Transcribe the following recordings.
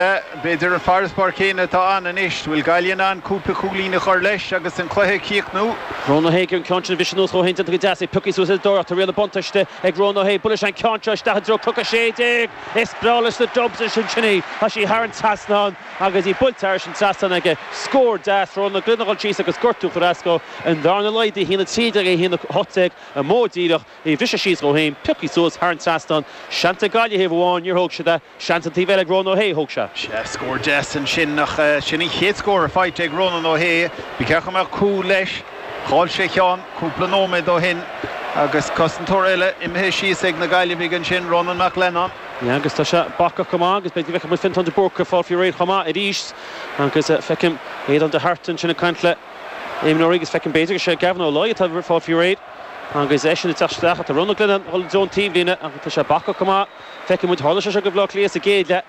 B'fhéidir an farasbarr céanna atá ann anois. Bhfuil Gaillimh in ann cúpla cúilín a chur leis agus an cluiche a chríochnú? Ronan O'Hea an ceann sin a bhriseadh anuas dhó féin déanta go deas é pioctha suas ar an dtóraíocht tá riail na buntáiste ag Ronan O'Hea buaileann sé an ceann seo isteach i dtreo Cnoc 16 is breá leis na Dubs ansin sin í tá sí thar an trasnán agus í buailte thairis an trasnán aige scór deas Ronan Ó Glionnáin ag dul síos agus gortú a chur as dó an bhearna laghdaithe 1-13 1-18 amuigh díreach í a bhriseadh síos dhó féin pioctha suas thar an trasnán seans ag Gaillimh thaobh amháin níor thóg siad é. Seans an taobh eile ag Ronan O'Hea, thóg sé. Sea, scór deas ansin ach sin an chéad scór faighte ag Ronan O'Hea. Ba cheart go mbeadh cúl leis. Chaill sé ceann cúpla nóiméad ó shin agus cosantóir eile imithe síos ag na Gaillimhigh ansin, Ronan McLennan. Yeah, agus tá sé bacach go maith agus b'fhéidir go bhfeicfidh muid Fiontán de Búrca ag fáil faoi réir chomh maith arís agus feicim Aodán de hArt ansin ag caint le imreoirí agus feicim b'fhéidir go sé Gavin Ó Laoi atá ag fáil faoi réir agus eisean ag teacht isteach. Tá Ronan Ó Glionnáin ag dul i dtreo an taobhlíne agus tá sé bacach go maith. Feicfidh muid, tharla sé seo do Bhaile Átha Cliath sa gcéad leath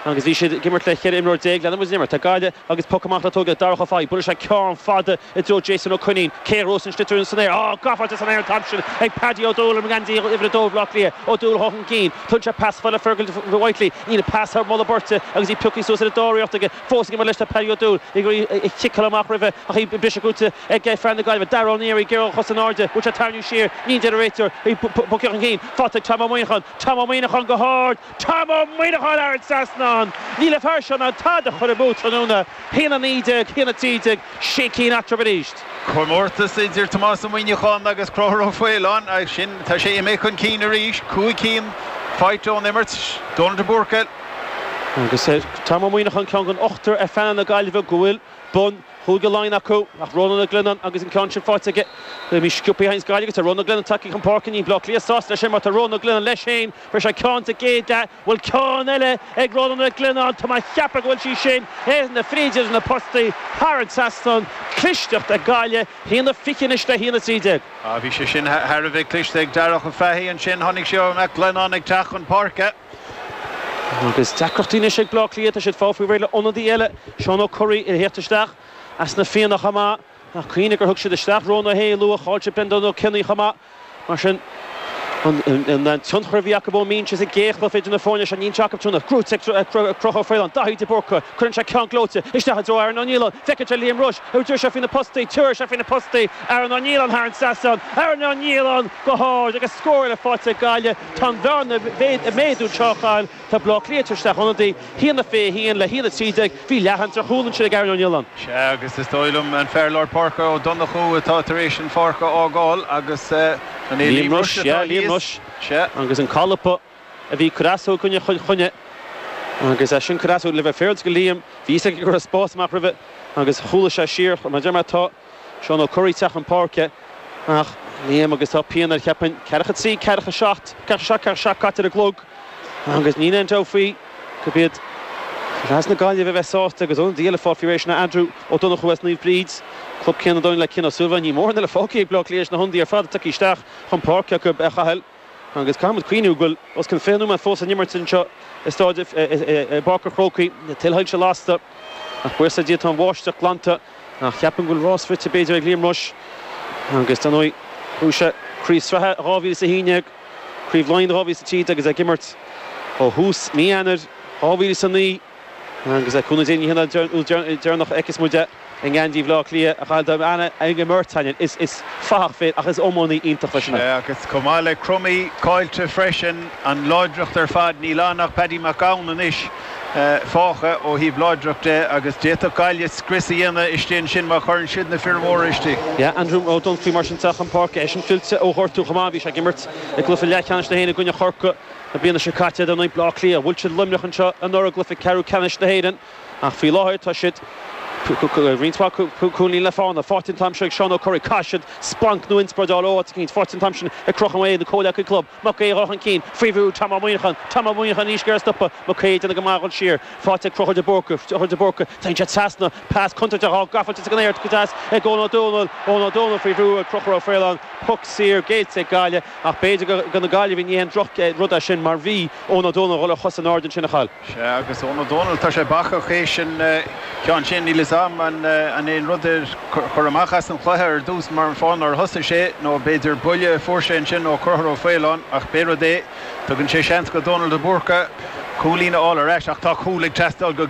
agus bhí siad ag imirt le 14 imreoir. Leanann muid den imirt. Tá Gaillimh agus poc amach le tógáil ag Darach Ó Fathaigh. Buaileann sé ceann fada i dtreo Jason Ó Coinín. Cé a ghnóthós an sliotar san aer? Á, gabháilte san aer an t-am sin ag Paddy Ó Dúill i ngeansaí uimhir 2 Bhaile Átha Cliath. Ó Dúill chun cinn. Tugann sé pas fada le Fergal Whitely. Níl an pas thar mholadh beirte agus í pioctha suas ar an dtóraíocht aige. Fós ag imirt leis tá Paddy Ó Dúill ag iarraidh a chiceáil amach roimhe ach í briseadh gnóthaithe ag fear na Gaillimhe. Dara Ó Naoire ag iarraidh a chos in airde. Bhfuil sé ag tarraingiú siar? Níl, deir an réiteoir. Í bogtha chun cinn. Faighte ag Tom Ó Muineacháin. Tom Ó Muineacháin go hard! Tom Ó Muineacháin thar an trasnán! Níl an fear seo in ann tada a chur amú tráthnóna. 1-19, 1-13, sé cinn eatarthu arís. Comórtas idir Tomás Ó Muineacháin agus Conchúr Ó Faoláin agus sin, tá sé imithe chun cinn arís, 5 cinn faighte ón imirt. Dónal de Búrca. Agus Tom Ó Muineacháin ceann den ochtar ar phainéal na Gaillimhe go bhfuil bonn Chúige Laighean acu ach Rónán Ó Glionnáin agus an ceann sin faighte aige. Bhí sciobtha ag Gaillimh agus tá Rónán Ó Glionnáin tagtha chun páirce. Níl Bleá Cliath sásta leis sin mar tá Rónán Ó Glionnáin leis féin. Fuair sé ceann sa gcéad leath. Bhfuil ceann eile ag Rónán Ó Glionnáin? Tá mé ag ceapadh go bhfuil sí sin ar na fríd idir na postaí thar an trasnán. Clisteacht ag Gaillimh. 1-20 anois le 1-13. Bhí sé sin thar a bheith cliste ag Darach Ó Fathaigh ansin. Chonaic sé Mac Glennon ag teacht chun páirce. Agus deacrachtaí anois ag Bleá Cliath, tá siad ag fáil faoi réir le ionadaí eile, Seán Ó Curraoin, ag theacht isteach as na Fianna chomh maith. Ach cuimhnigh gur thug siad isteach Rónán Ó hAodha luath, chaill siad Brendan Ó Cionnaith chomh maith. Mar sin, an tionchar a bhí acu ón mbinse sa gcéad chluiche idir na foirne seo, níl sé acu tráthnóna. Gnóthaithe ag Conchúr Ó Faoláin, Daithí de Búrca, cuireann sé ceann gleoite isteach i dtreo Aaron Ó Nialláin. Feiceann sé Liam Rushe, a dúirt sé faoi na postaí, tabharfaidh sé faoi na postaí, Aaron Ó Nialláin thar an trasnán, Aaron Ó Nialláin go hard agus scór eile faighte ag Gaillimh. Tá an bhearna ag méadú anseo a Chathail. Tá Bleá Cliath tar isteach ionadaí, 1-21 le 1-13. Bhí leath-aimsir chúl ansin ag Aaron Ó Nialláin. Sea, agus is dóigh liom an fear lár páirce Ó Donnchú atá tar éis an pháirc a fhágáil agus an é Liam Rushe atá thíos? Sea. Agus an colpa a bhí ag cur as dó i gcoinne Chill Chainnigh agus é sin cur as dó le bheith féaráilte go Liam, bhí fhios aige go raibh spás amach roimhe agus chúlaigh sé siar. Mar a deir mé, tá. Seán Ó Curraoin ag teacht chun páirce ach Liam agus tá pian air cheapfainn. Ceathracha 3, ceathracha 7, ceathracha 7, ceathracha 7 caite ar an gclog agus níl aon dabht faoi gurb iad leaids na Gaillimhe a bheas sásta agus ionadaí eile fáil faoi réir sin Andrew Ó Donnchú as Naomh Bríd, club céanna dóinn le Cian Ó Súilleabháin. Níl mórán eile fágtha ag Bleá Cliath leis na hionadaithe ar fad tagtha isteach chun páirce acu a Chathail. Agus caithfidh muid cuimhniú go bhfuil os cionn 20 nóiméad fós san imirt anseo i staid i bPáirc an Chrócaigh. Na tuilsoilse lasta ach buíochas le Dia tá an bháisteach glanta ach cheapfainn go bhfuil rás rite b'fhéidir ag Liam Rushe agus dar ndóigh bhuaigh sé Craobh Sraithe 2011, Craobh Laighean 2013 agus é ag imirt ó thús mí Eanáir 2009. Agus le cúnamh Dé ní hé an uair deireanach a fheicfeas muid é i ngeansaí Bhaile Átha Cliath a Chathail dá mbeanna ag imirt Aininn. Is fathach fir ach is iománaí iontach freisin é. Sea, agus chomh maith le Crummey caillte freisin, an láidreacht ar fad, níl ann ach Paddy Mac Gabhann anois fágtha ó thaobh láidreacht de agus d'fhéadfadh Gaillimh scrios a dhéanamh istigh ansin má chuireann siad na fir mhóra istigh. Yeah, Andrew Ó Donnchú mar sin teacht chun páirce, eisean fillte ó ghortú chomh maith, bhí sé ag imirt i gcluiche leathcheannais na hÉireann i gcoinne Chorcaí. Na bliana seo caite, dar ndóigh, Bleá Cliath, bhuail siad Luimneach anseo anuraidh i gcluiche ceathrú ceannais na hÉireann ach faoi láthair tá siad roinnt mhaith cúilíní le fána. Faighte an t-am seo ag Seán Ó Curraoin. Caithfidh siad splanc nó inspioráid a fháil ó áit eicínt. Faighte an t-am sin ag Conchúr Ó hAodha, na comhleacaí club. Mac Aodha chun cinn. Faoi bhrú, Tom Ó Muineacháin. Tom Ó Muineacháin arís ag iarraidh stopadh. Mac Aodha ag déanamh go maith a dhul siar. Faighte ag Conchúr de Búrca. Conchúr de Búrca. Téann sé trasna. Pas contúirteach á gafáilte san aer go deas ag Eoin Ó Dónaill. Eoin Ó Dónaill faoi bhrú ag Conchúr Ó Faoláin. Poc saor géillte ag Gaillimh. Ach b'fhéidir do na Gaillimhigh ní haon droch rud é sin mar bhí Eoin Ó Dónaill a dhul ar chos in airde ansin a Chathail. Sea, agus Eoin Ó Dónaill, tá sé bacach théis an ceann sin, níl fhios a'm an é an rud a chur amach as an chluiche ar dtús mar an fáth nár thosaigh sé nó b'fhéidir buille a fuair sé ansin ó Chonchúr Ó Faoláin ach pé rud é, tugann sé seans go Dónal de Búrca. Cúilín a fháil ar ais ach tá cúl ag teastáil go.